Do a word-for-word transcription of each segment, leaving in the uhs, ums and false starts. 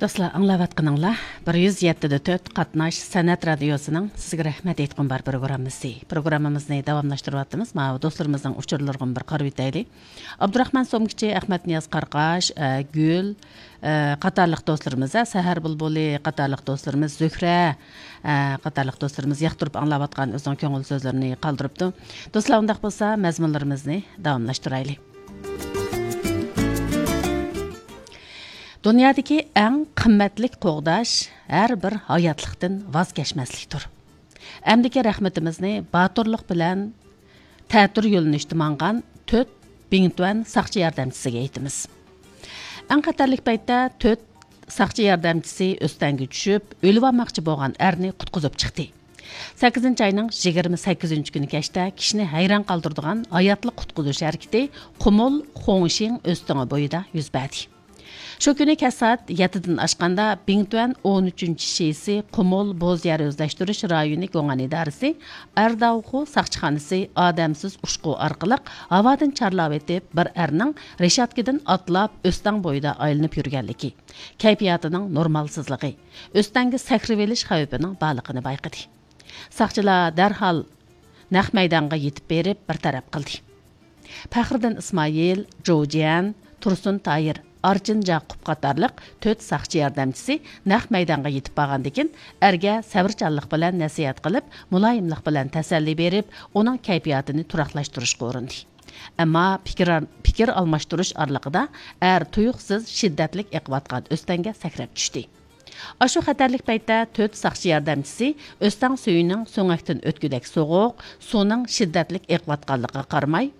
دوستلار، ئاڭلاۋاتقىنىڭلار بىر يۈز يەتتە دە تۆت قاتناش سەنئەت رادىيوسىنىڭ سىزگە رەھمەت ئېيتقۇم بار پروگراممىسى. پروگراممىمىزنى داۋاملاشتۇرۇۋاتىمىز. ماۋۇ دوستلىرىمىزنىڭ ئۇچۇرلىرىغىمۇ بىر قارىۋېتەيلى. ئابدۇراخمان سومكىچى، ئەخمەتنىياز قاراقاش، ئە، گۈل، ئە، قاتارلىق دوستلىرىمىز، ئە، سەھەر بۇلبۇلى قاتارلىق دوستلىرىمىز، زۆھرە، ئە، قاتارلىق دوستلىرىمىز ياقتۇرۇپ ئاڭلاۋاتقان ئۆزىنىڭ كۆڭۈل سۆزلىرىنى قالدۇرۇپتۇ. دوستلار، ئۇنداق بولسا مەزمۇنلىرىمىزنى داۋاملاشتۇرايلى. دۇنيادىكى ئەڭ قىممەتلىك قوغداش ھەر بىر ھاياتلىقتىن ۋاز كەچمەسلىكتۇر. ئەمدىكى رەھمىتىمىزنى باتۇرلۇق بىلەن تەتۈر يۆنىلىشتە ماڭغان تۆت بىڭتۈەن ساقچى ياردەمچىسىگە ئېيتىمىز. ئەڭ خەتەرلىك پەيتتە تۆت ساقچى ياردەمچىسى ئۆستەڭگە چۈشۈپ، ئۆلۈۋالماقچى بولغان ئەرنى قۇتقۇزۇپ چىقتى. سەككىزىنچى ئاينىڭ يىگىرمە سەككىزىنچى كۈنى كەچتە كىشىنى ھەيران قالدۇرىدىغان ھاياتلىق قۇتقۇزۇش ھەرىكىتى قۇمۇل خۇڭشىڭ ئۆستىڭى بويىدا يۈز بەردى. شۇ كۈنى كەچ سائەت يەتتىدىن ئاشقاندا، بىڭتۈەن ئون ئۈچىنچى شىسى قۇمۇل بوز يەر ئۆزلەشتۈرۈش رايونى گوڭئەن ئىدارىسى ئەرداۋخۇ ساقچىخانىسى ئادەمسىز ئۇچقۇ ئارقىلىق ھاۋادىن چارلاۋېتىپ، بىر ئەرنىڭ رېشاتكىدىن ئاتلاپ ئۆستەڭ بويىدا ئايلىنىپ يۈرگەنلىكى، كەيپىياتىنىڭ نورمالسىزلىقى، ئۆستەڭگە سەكرىۋېلىش خەۋپىنىڭ بارلىقىنى بايقىدى. ساقچىلار دەرھال نەق مەيدانغا يېتىپ بېرىپ بىر تەرەپ قىلدى. پەخرىدىن ئىسمائىل، جو جيەن، تۇرسۇن تاھىر، ئارچىن جاقۇپ قاتارلىق تۆت ساقچى ياردەمچىسى نەق مەيدانغا يېتىپ بارغاندىكىن، ئەرگە سەۋرچانلىق بىلەن نەسىھەت قىلىپ، مۇلايىملىق بىلەن تەسەللى بېرىپ، ئۇنىڭ كەيپىياتىنى تۇراقلاشتۇرۇشقا ئۇرۇندى. ئەمما پىكىر، پىكىر ئالماشتۇرۇش ئارىلىقىدا ئەر تۇيۇقسىز شىددەتلىك ئېقىۋاتقان ئۆستەڭگە سەكرەپ چۈشتى. ئاشۇ خەتەرلىك پەيتتە تۆت ساقچى ياردەمچىسى ئۆستەڭ سۈيىنىڭ سۆڭەكتىن ئۆتكۈدەك سوغۇق، سۇنىڭ شىددەتلىك ئېقىۋاتقانلىقىغا قارىماي،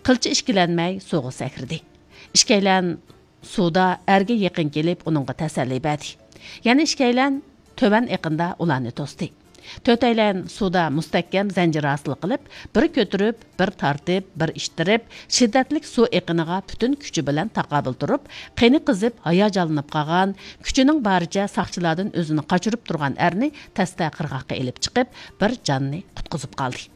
قىلچە ئىككىلەنمەي سۇغا سەكرىدى. ئىككىيلەن سۇدا ئەرگە يېقىن كېلىپ، ئۇنىڭغا تەسەللى بەردى. يەنە ئىككىيلەن تۆۋەن ئېقىندا ئۇلارنى توستى. تۆتەيلەن سۇدا مۇستەھكەم زەنجىر ھاسىل قىلىپ، بىر كۆتۈرۈپ، بىر تارتىپ، بىر ئىتتىرىپ، شىددەتلىك سۇ ئېقىنىغا پۈتۈن كۈچى بىلەن تاقابىل تۇرۇپ، قېنى قىزىپ، ھاياجانلىنىپ قالغان، كۈچىنىڭ بارىچە ساقچىلاردىن ئۆزىنى قاچۇرۇپ تۇرغان ئەرنى تەستە قىرغاققا ئېلىپ چىقىپ، بىر جاننى قۇتقۇزۇپ قالدى.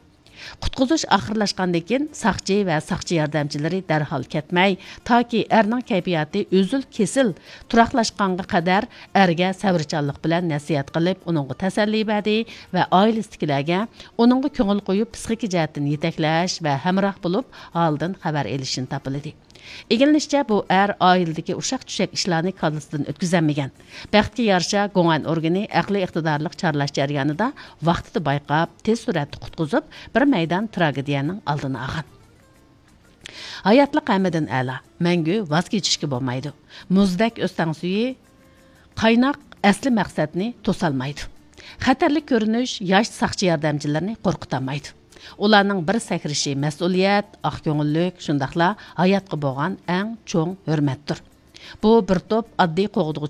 قۇتقۇزۇش ئاخىرلاشقاندىن كېيىن، ساقچى ۋە ساقچى ياردەمچىلىرى دەرھال كەتمەي، تاكى ئەرنىڭ كەيپىياتى ئۈزۈل-كېسىل تۇراقلاشقانغا قەدەر ئەرگە سەۋرچانلىق بىلەن نەسىھەت قىلىپ، ئۇنىڭغا تەسەللى بەردى ۋە ئائىلىسىدىكىلەرگە ئۇنىڭغا كۆڭۈل قويۇپ، پىسخىكا جەھەتتىن يېتەكلەش ۋە ھەمراھ بولۇپ، ھالىدىن خەۋەر ئېلىشنى تاپىلىدى. ئىگىلىنىشىچە، بۇ ئەر ئائىلىدىكى ئۇششاق-چۈششەك ئىشلارنى كاللىسىدىن ئۆتكۈزەلمىگەن. بەختكە يارىشا، گوڭئەن ئورگىنى ئەقلىي ئىقتىدارلىق چارلاش جەريانىدا ۋاقتىدا بايقاپ، تېز سۈرئەتتە قۇتقۇزۇپ، بىر مەيدان تراگېدىيەنىڭ ئالدىنى ئالغان. ھاياتلىق ھەممىدىن ئەلا، مەڭگۈ ۋاز كېچىشكە بولمايدۇ. مۇزدەك ئۆستەڭ سۈيى قايناق ئەسلى مەقسەتنى توسالمايدۇ. خەتەرلىك كۆرۈنۈش ياش ساقچى ياردەمچىلىرىنى قورقۇتالمايدۇ. ئۇلارنىڭ بىر سەكرىشى مەسئۇلىيەت، ئاق كۆڭۈللۈك، شۇنداقلا ھاياتقا بولغان ئەڭ چوڭ ھۆرمەتتۇر. بۇ بىر توپ ئاددىي قوغدىغۇچى